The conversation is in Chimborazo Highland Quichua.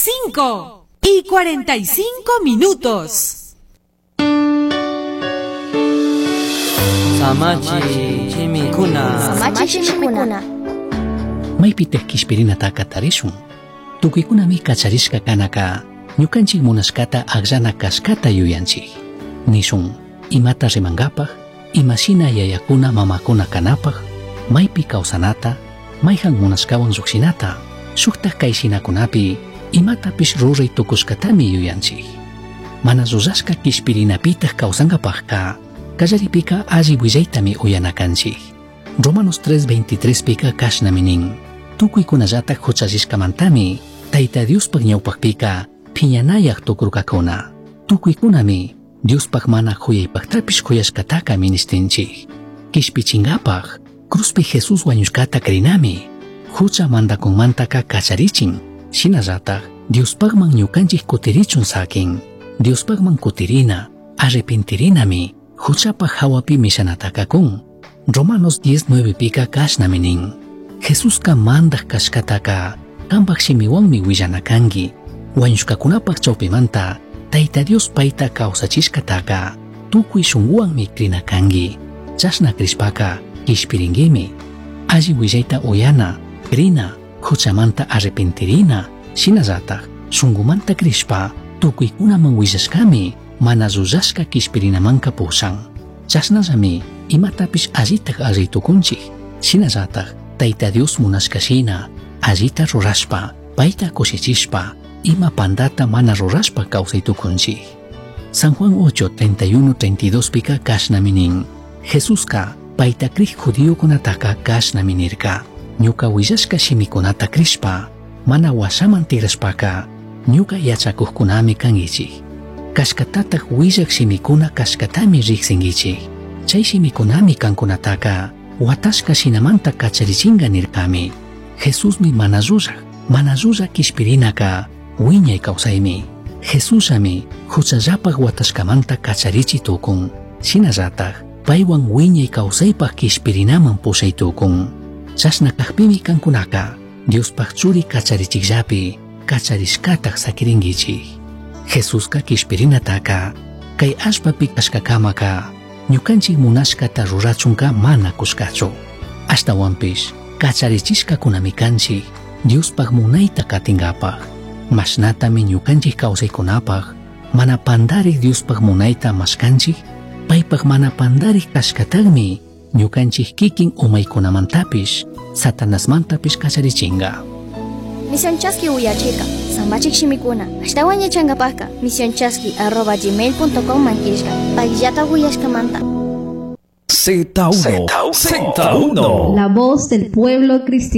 5:45. Samachi shimikuna. Samachi shimikuna. Maypitaq kishpirinataka tarishun. Tukuykunami kacharishka kanaka ñukanchik munashkata akllana kashkata yuyanchik. Nishun imata rimankapaq, imashina yayakuna mamakuna kanapaq, maypi kawsanata, mayhan munashkawan lluqshinata, shuktak kayshinakunapi imatapish ruray tukushkatami yuyanchik. Mana rurashka kishpirinapitaq kawsankapaqka, kallaripika alli willaytami uyana kanchik. Romanos 3:23 pika kashnami nin. Tukuykunallatak huchallishkamantami Tayta Diospaq ñawpaqpika phiñanayaq tukurkakuna. Tukuykunami Diospaq mana khuyaypaqtapish khuyashkataka ministinchik. Kishpichinkapaq cruzpi Jesús wañushkata crinami. Hucha mandakunmantaka kacharichin. Shinallatak Diospaqman ñukanchik kutirichun sakin. Diospaqman kutirina, arrepentirinami, huchapaq hawapi mishanataka kun. Romanos 10:9 pika kashnami nin. Jesuska mandaq kashkataka kanpaq shimiwanmi willana kanki. Wañushkakunapaq chawpimanta Tayta Dios payta kawsachishkataka tukuy shunquwanmi krina kanki. Chashna krishpaka kishpirinkimi. Alli willayta uyana, krina, huchamanta arrepentirina, shinallatak shunqumanta krishpa tukuykunaman willashkami mana llullashka kishpirinamanka pushan. Chashnallami imatapish allitak alli tukunchik. Shinallatak Tayta Dios munashka shina allita rurashpa, payta kushichishpa, ima pandata mana rurashpa kawsay tukunchik. San Juan 8, 31, 32 pika kashnami nin. Jesuska payta krij judiokunataka kashnami nirka. Ñuka willashka shimikunata krishpa, mana washaman tigrashpaka, ñuka yachakuqkunami kankichik. Kashkatatak willak shimikuna kashkatami riqsinkichik. Chay shimikunami kankunataka watashka shinamanta kacharichinka nirkami. Jesusmi mana llullak, mana llullak kishpirinaka wiñay kawsaymi. Jesusami huchallapaq watashkamanta kacharichi tukun. Shinallatak paywan wiñay kawsaypaq kishpirinaman pushay tukun. Chashna kaqpimi kankunaka Diospaq churi kacharichikllapi kacharishkataq sakirinkichik. Jesuska kishpirinataka kay allpapi kashkakamaka ñukanchik munashkata rurachunka mana kushkachu. Ashtawanpish kacharichishkakunami kanchik Diospaq munayta katinkapaq. Mashnatami ñukanchik kawsaykunapaq mana pandarik Diospaq munayta mashkanchik, paypaq mana pandarik kashkataqmi ñukanchik kikin umaykunamantapish Satanasmantapish kacharichinka. Misión Chaski uyachika, samachik shimikuna, ashtawan yachankapaqka, misionchaski@gmail.com mankishka, payllata uyashkamanta. Z1, Z1. La voz del pueblo cristiano.